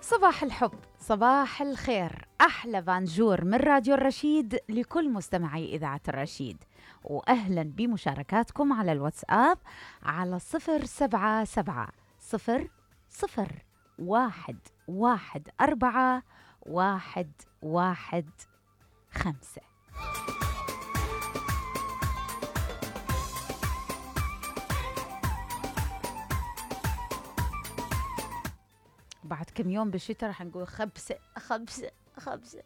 صباح الحب، صباح الخير، أحلى بانجور من راديو الرشيد لكل مستمعي إذاعة الرشيد، وأهلا بمشاركاتكم على الواتساب على 077-001-4-115. بعد كم يوم بالشتاء رح نقول خبسة خبسة خبسة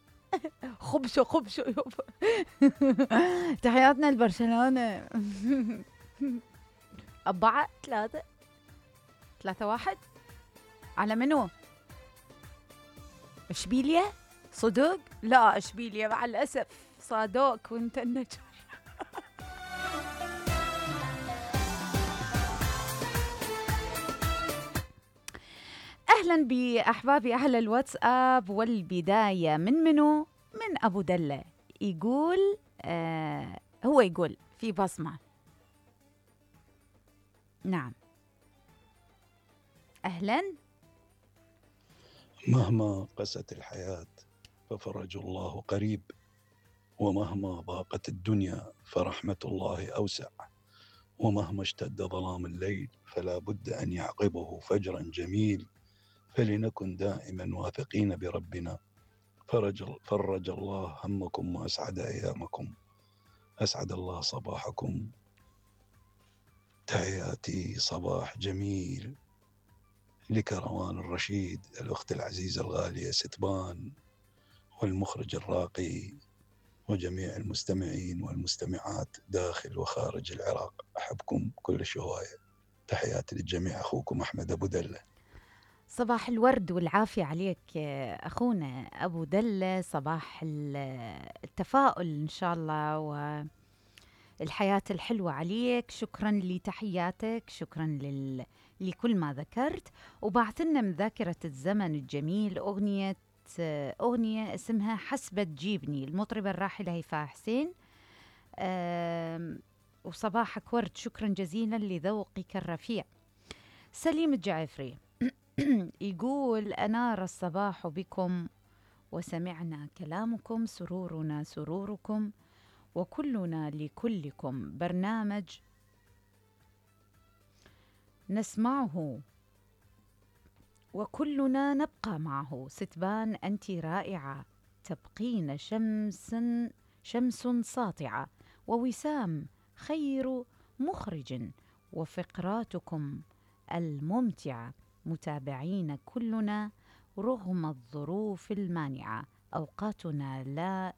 خبشة خبشة. تحياتنا لبرشلونة. 4-3-1 على منو؟ اشبيليا؟ صدق؟ لا اشبيليا مع الأسف صادوك وانت النجم. أهلا بأحبابي أهل الواتساب، والبداية من منو؟ من أبو دلة. يقول هو يقول في بصمة. نعم أهلا. مهما قست الحياة ففرج الله قريب، ومهما ضاقت الدنيا فرحمة الله أوسع، ومهما اشتد ظلام الليل فلا بد أن يعقبه فجرا جميل، فلنكن دائما واثقين بربنا. فرج الله همكم وأسعد أيامكم، أسعد الله صباحكم. تحياتي صباح جميل لكروان الرشيد، الأخت العزيزة الغالية ستبان، والمخرج الراقي، وجميع المستمعين والمستمعات داخل وخارج العراق. أحبكم كل هواية. تحياتي للجميع، أخوكم أحمد أبو دلة. صباح الورد والعافية عليك أخونا أبو دلة، صباح التفاؤل إن شاء الله والحياة الحلوة عليك. شكرا لتحياتك، شكرا لكل ما ذكرت. وبعثنا من ذاكرة الزمن الجميل أغنية اسمها حسبة تجيبني، المطربة الراحلة هيفاء حسين. وصباحك ورد، شكرا جزيلا لذوقك الرفيع. سليم الجعفري يقول أنار الصباح بكم وسمعنا كلامكم، سرورنا سروركم وكلنا لكلكم، برنامج نسمعه وكلنا نبقى معه. ستبان أنت رائعة، تبقين شمس ساطعة، ووسام خير مخرج، وفقراتكم الممتعة متابعين كلنا رغم الظروف المانعة. أوقاتنا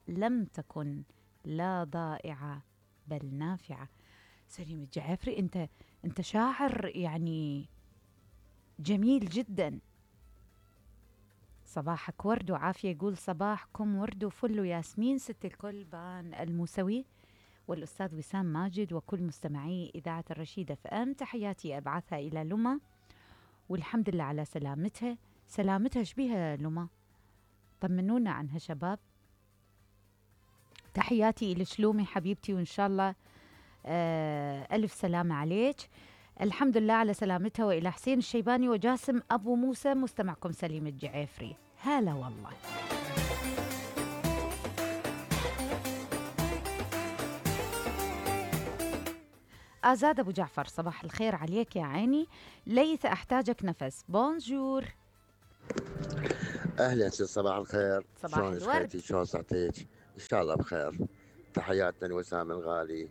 لم تكن لا ضائعة بل نافعة. سليم الجعفري، أنت شاعر يعني جميل جدا. صباحك ورد وعافية. يقول صباحكم ورد وفل وياسمين، ست الكل بان الموسوي والأستاذ وسام ماجد وكل مستمعي إذاعة الرشيد اف ام. تحياتي أبعثها إلى لما، والحمد لله على سلامتها. سلامتها شبيها لما؟ طمنونا عنها شباب. تحياتي إلى شلومي حبيبتي، وإن شاء الله ألف سلامة عليك. الحمد لله على سلامتها. وإلى حسين الشيباني وجاسم أبو موسى، مستمعكم سليم الجعفري. هلا والله. آزاد أبو جعفر، صباح الخير عليك يا عيني. ليث أحتاجك نفس، بونجور. اهلا ست، صباح الخير. صباح شلونك الورد. خيتي؟ شلون صحتك؟ ان شاء الله بخير. تحياتنا لوسام الغالي.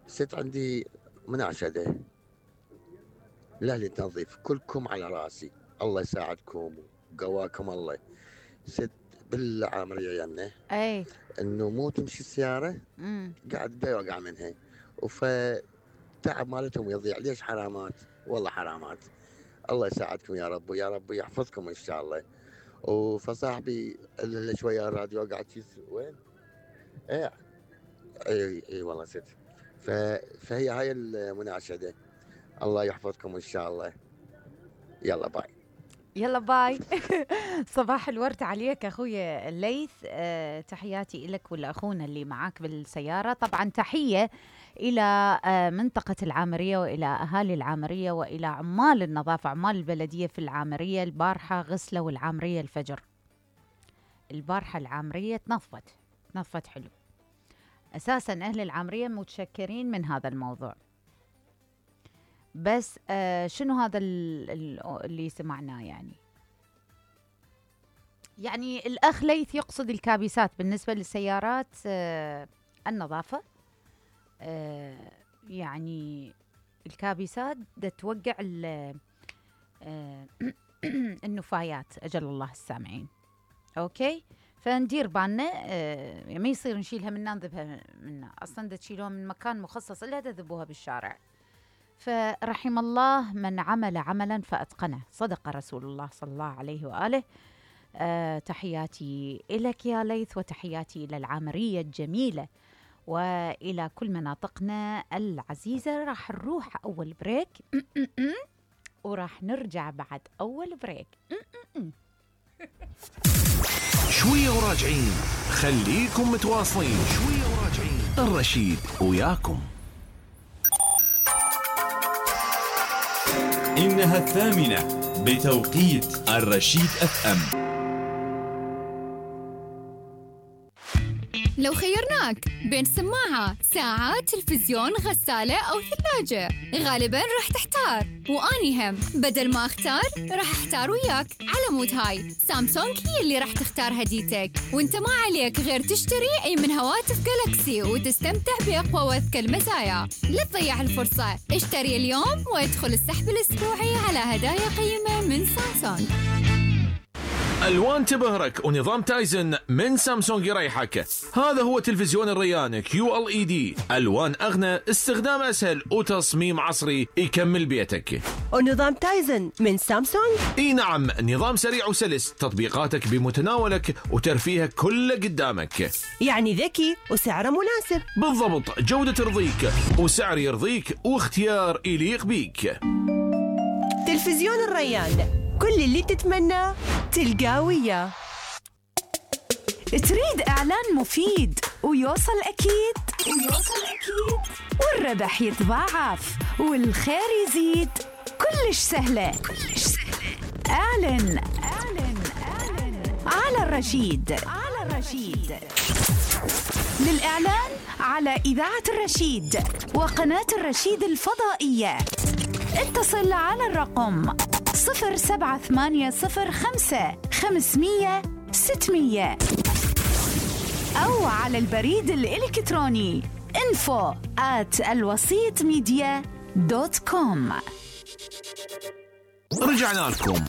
ست عندي مناشده لاهل التنظيف، كلكم على راسي، الله يساعدكم وقواكم الله. ست بالعامر عيالنا اي انه مو تمشي السياره قاعد دا يوقع منها، وفتعب مالتهم يضيع. ليش حرامات؟ والله حرامات. الله يساعدكم يا رب، ويا رب يحفظكم ان شاء الله. وفصاحبي اللي شويه الراديو قاعد وين؟ اي والله ست. فهي هاي المناشده. الله يحفظكم ان شاء الله. يلا باي. يلا باي. صباح الورد عليك أخويا الليث. تحياتي لك ولأخونا اللي معاك بالسيارة. طبعا تحية إلى منطقة العامرية وإلى أهالي العامرية وإلى عمال النظافة، عمال البلدية في العامرية. البارحة غسلوا العامرية الفجر، البارحة العامرية تنظفت حلو. أساساً أهل العامرية متشكرين من هذا الموضوع. بس شنو هذا اللي سمعناه؟ يعني الأخ ليث يقصد الكابسات بالنسبة للسيارات، النظافة. يعني الكابسات دا توقع النفايات، أجل الله السامعين. أوكي، فندير بالنا ما يصير نشيلها منا نذبها منا، أصلا دا تشيلوها من مكان مخصص إلا تذبوها بالشارع. فرحم الله من عمل عملا فأتقنه، صدق رسول الله صلى الله عليه وآله. تحياتي إليك يا ليث، وتحياتي إلى العامرية الجميلة وإلى كل مناطقنا العزيزة. راح نروح أول بريك وراح نرجع بعد أول بريك. شوية وراجعين، خليكم متواصلين. شوية وراجعين، الرشيد وياكم. إنها 8 بتوقيت الرشيد FM. لو خيرناك بين سماعة، ساعة، تلفزيون، غسالة أو ثلاجة، غالباً راح تحتار. وأني هم بدل ما أختار راح أحتار وياك. على مود هاي سامسونج هي اللي راح تختار هديتك، وانت ما عليك غير تشتري أي من هواتف جالاكسي وتستمتع بأقوى وأذكى المزايا. لا تضيع الفرصة، اشتري اليوم وادخل السحب الأسبوعي على هدايا قيمة من سامسونج. ألوان تبهرك ونظام تايزن من سامسونج يريحك. هذا هو تلفزيون الريان QLED، ألوان أغنى، استخدام أسهل، وتصميم عصري يكمل بيتك. ونظام تايزن من سامسونج؟ اي نعم، نظام سريع وسلس، تطبيقاتك بمتناولك وترفيهك كله قدامك. يعني ذكي وسعره مناسب. بالضبط، جودة ترضيك وسعر يرضيك واختيار يليق بيك. تلفزيون الريان، كل اللي تتمنى تلقاه وياه. تريد إعلان مفيد ويوصل أكيد والربح يتضاعف والخير يزيد، كلش سهلة. أعلن على الرشيد. للإعلان على إذاعة الرشيد وقناة الرشيد الفضائية اتصل على الرقم 07805 أو على البريد الإلكتروني info@alwasitmedia.com. رجعنا لكم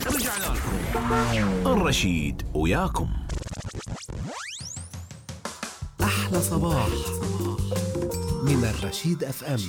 الرشيد وياكم. أحلى صباح من الرشيد FM.